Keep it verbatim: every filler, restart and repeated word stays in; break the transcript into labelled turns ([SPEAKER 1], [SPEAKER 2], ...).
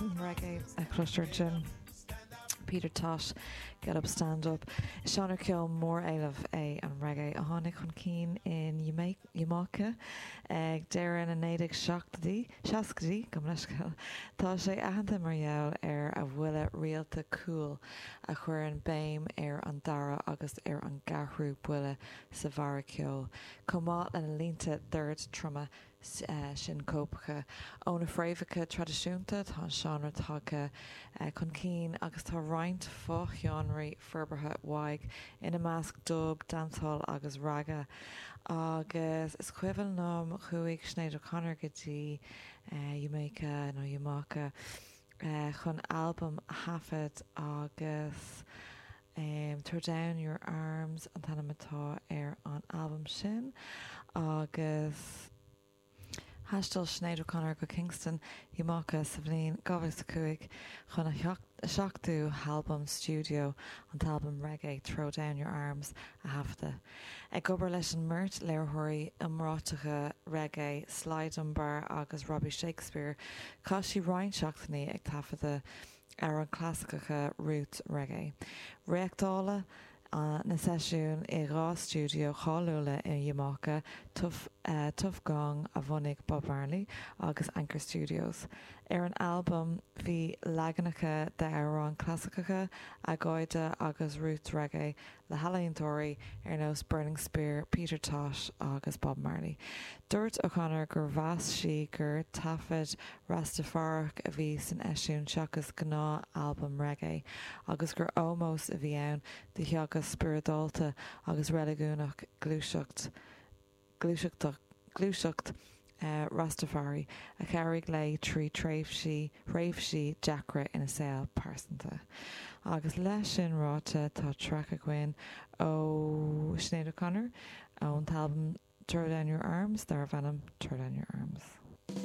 [SPEAKER 1] An reggae a chloistear ansin. Peter Tosh, Get Up Stand Up. Seánra ceoil móréilimh é an reggae a tháinig chun cinn in Iamáice ag deireadh na naoi déag seachtaidí seascaidí gabh mo leithscéal. Tá sé aitheanta mar gheall ar a bhuille rialta cúil a chuireann béim ar an dara agus ar an gceathrú buille sa bharra ceoil, chomh maith lena línte dord troma sioncópacha. Ó na fréamhacha traidisiúnta tá an seánra tagtha chun cinn agus tá roinnt fo-sheánraí forbartha uaidh, ina measc dub, dancehall agus ragga. Agus is cuimhin liom chuaigh Sinéad O'Connor go dtí Jamaica nó Iamáice chun albam a thaifead agus um, Throw Down Your Arms an t-ainm atá ar an albam sin agus Thaistil Sinéad O'Connor go Kingston Iamáice sa bhliain dhá mhíle a cúig chun a seachtú halbam stiúideo an t-albam reggae Throw Down Your Arms a thaifeadadh. Ag obair leis an mbeirt léiritheoirí iomráiteacha reggae Sly Dunbar agus Robbie Shakespeare, chaith sí roinnt seachtainí ag taifeadadh amhráin chlasaiceacha roots reggae. Reáchtáladh na seisiúin i dhá stiúideo cháiliúla i Iamáice, Tuff, Tuff Gong a bhunaigh Bob Marley agus Anchor Studios. Ar an albam bhí leaganacha d'amhráin chlasaiceacha, agóide agus roots reggae le healaíontóirí ar nós Burning Spear, Peter Tosh agus Bob Marley. Dúirt O'Connor gur mheas sí gur taifead Rastafárach a bhí san eisiúint seachas gnáth-albam reggae, agus gur ómós a bhí ann do theagasc spioradálta agus reiligiúnach gluaiseacht gluaiseachtach gluaiseacht Rastafari a chabhraigh léi trí tréimhsí thréimhsí deacra ina saol pearsanta. Agus leis sin ráite tá traic againn ó Sinéad O'Connor ón t-albam Throw Down Your Arms darb ainm Throw Down Your Arms.